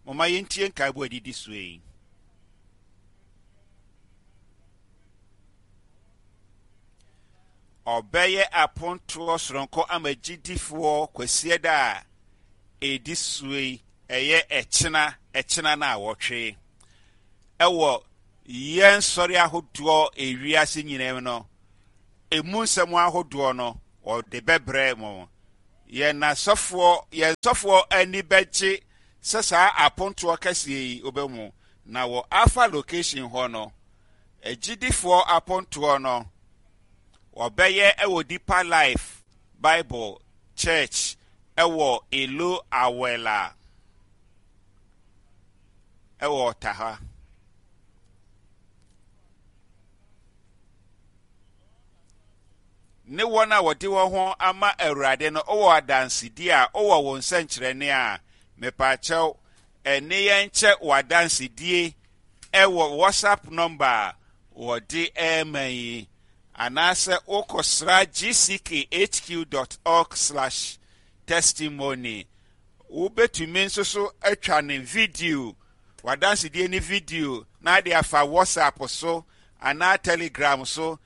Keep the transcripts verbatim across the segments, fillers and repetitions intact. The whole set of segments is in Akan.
Momma yɛntie nkaebɔ a ɛdidi soɔ yi. Ɔbɛyɛ apontoɔ soronko ama gyidifoɔ Kwasiada a ɛdi soɔ yi, ɛyɛ ɛkyena, ɛkyena no a wɔtwe. Ɛwɔ yɛn sɔre ahodoɔ ewiase nyinaa mu no, emu nsɛm ahodoɔ no, wɔde bɛbrɛ mo. Yɛn asɔfoɔ, yɛn sɔfoɔ ani bɛgye sɛ saa apontoɔ kɛseɛ yi wobɛmu. Na wɔ Alpha location hɔ no, agyidifoɔ apontoɔ no, wɔbɛyɛ wɔ Deeper Life Bible Church ɛwɔ Elo Awela ɛwɔ Ɔtaha. Ne wɔn a wɔde wɔn ho ama Awurade no wɔ adansedi a wowɔ wo nsɛnkyerɛnne a, mepaakyɛw, ɛne yɛn kyɛ w'adansedie ɛwɔ WhatsApp number a wɔde ɛrema yi, anaasɛ wokɔsra gckhq dot org slash testimony. Wobɛtumi nso so atwa ne video, w'adansedie ne video, na ade afa WhatsApp so anaa Telegram so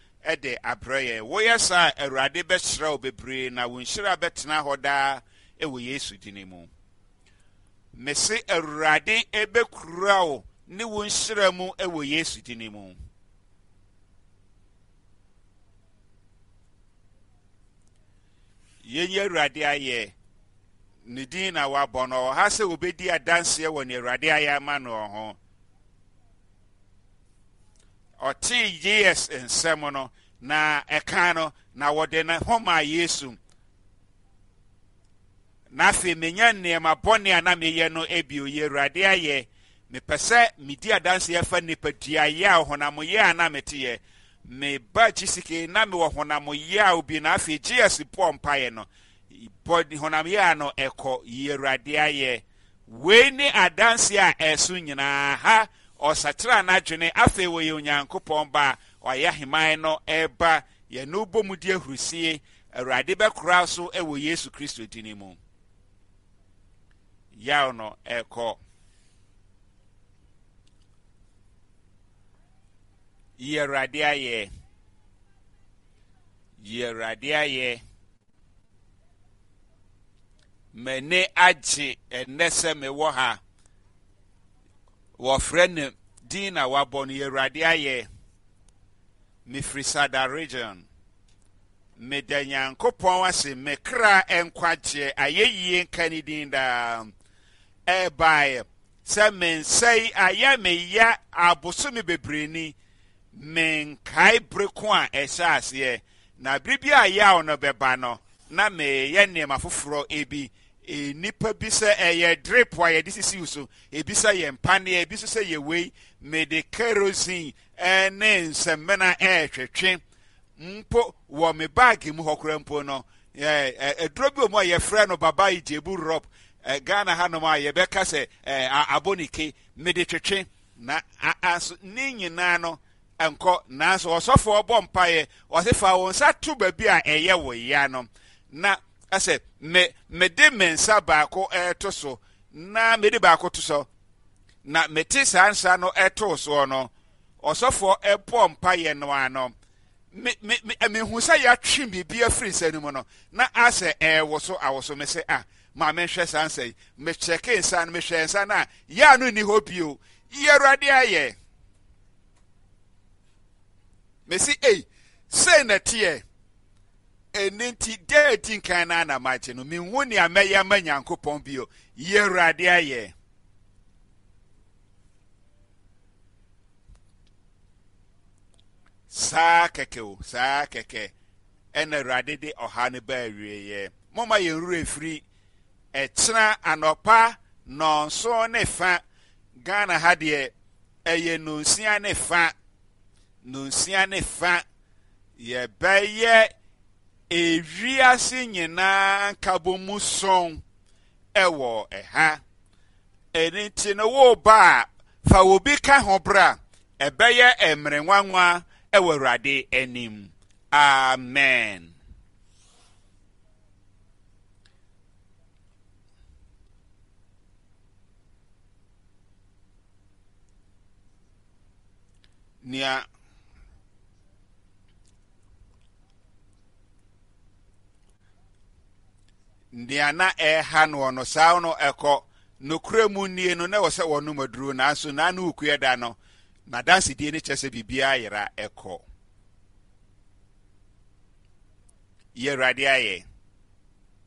de abrɛ yɛn. Woyɛ saa a, Awurade bɛhyira wo bebree na wo nhyira bɛtena hɔ daa wɔ Yesu din mu. Mese Awurade bɛkura wo ne wo nhyira mu wɔ Yesu din mu. Yɛnyi Awurade ayɛ. Ne din na wabɔ no. Ɔwɔ ha sɛ obɛdi adanseɛ wɔ ne Awurade ayɛ ama no ho. Ɔtee J S nsɛm no na ɛka no na wɔde ne ho maa Yesu. Na afei menya nneɛma bɔne a na meyɛ no ebio. Yɛ Awurade ayɛ. Mepɛ sɛ medi adanseɛ fa nipadua yɛ a honam yɛ a na meteyɛ. Meba G C K na mewɔ honam yɛ a bi na afei J S bɔ mpaeɛ no. Bɔ honam yɛ a no ɛkɔ. Yɛ Awurade ayɛ. Wei ne adanseɛ a ɛso nyinaa ha. Ɔsakyera n'adwene afei wɔyɛ Onyankopɔn ba a ɔyɛ ahemman no ɛreba. Yɛne bɔ mu di ahurusie. Awurade bɛkora so wɔ Yesu Kristo din mu. Yaw no ɛkɔ. Yi Awurade ayɛ. Yi Awurade ayɛ. M'ani agye ɛnnɛ sɛ mewɔ ha. Wɔfrɛ no din na wabɔ no. Yɛ Awurade ayɛ. Mefiri Sada Region. Meda Nyankopɔn ase, me kra nkwagyeɛ, ayɛyie nka ne din daa. Ɛbaeɛ sɛ me nsa yi ayɛ me ya abosome bebree ni. Menkae bere ko a ɛhyɛ aseɛ. Na bere bi a yaw no bɛba no, na meyɛ nneɛma foforɔ ebi. Nnipa bi sɛ ɛyɛ drip a yɛde sisi so, ebi sɛ yɛ mpaneɛ, ebi nso sɛ yɛ wei. Mede kerosene ne nsɛmmena ɛretwetwe mpo wɔ me baage mu hɔ koraa mpo no. Aduro bi wɔ mu a yɛfrɛ no Baba Ijebu Rub, Ghana hanom a yɛbɛka sɛ abonike, mede twetwe na aso ne nyinaa no nkɔ. Nanso ɔsɔfoɔ bɔ mpaeɛ, ɔse fa wo nsa to baabi a ɛyɛ wo ya no, na ɛsɛ me mede me nsa baako ɛto so na mede baako to so na mete saa nsa no ɛtoo soɔ no, ɔsɔfoɔ ɛbɔ mpaeɛ no ano, me me me mehu sɛ yɛatwe biribi afiri nsa no mu no na asɛ ɛɛwo so awo so. Me sɛ, ah, maa menhwɛ saa nsa yi. Mekyɛke nsa no, mehwɛ nsa no a yɛ no nni hɔ bio. Yi Awurade ayɛ. Mesi ei, sei na teɛ. Ɛno nti da adi nkan no ana magye no, menhu nea mɛyɛ ama Nyankopɔn bio. Yi Awurade ayɛ. Saa kɛkɛ o, saa kɛkɛ ɛna Awurade de ɔha no ba awieeɛ. Momma yɛn werɛ firi ɛkyena anɔpa nɔnson ne fa. Ghana ha deɛ ɛyɛ nonsia ne fa, nonsia ne fa, yɛbɛyɛ ewiase nyinaa nkabɔ mu sɔn ɛwɔ ɛha. Ɛno nti no, woba a, fa obi ka ho bra. Ɛbɛyɛ mmerɛ nwanwa ɛwɔ Awurade anim. Amen. Nea nea na ɛreha noɔ no, saa no ɛkɔ. Nokorɛ mu nie no, na ɛwɔ sɛ wɔnom aduro, nanso n'ano rekue da no, n'adansedie no kyerɛ sɛ biribiara yera ɛkɔ. Yɛ Awurade ayɛ.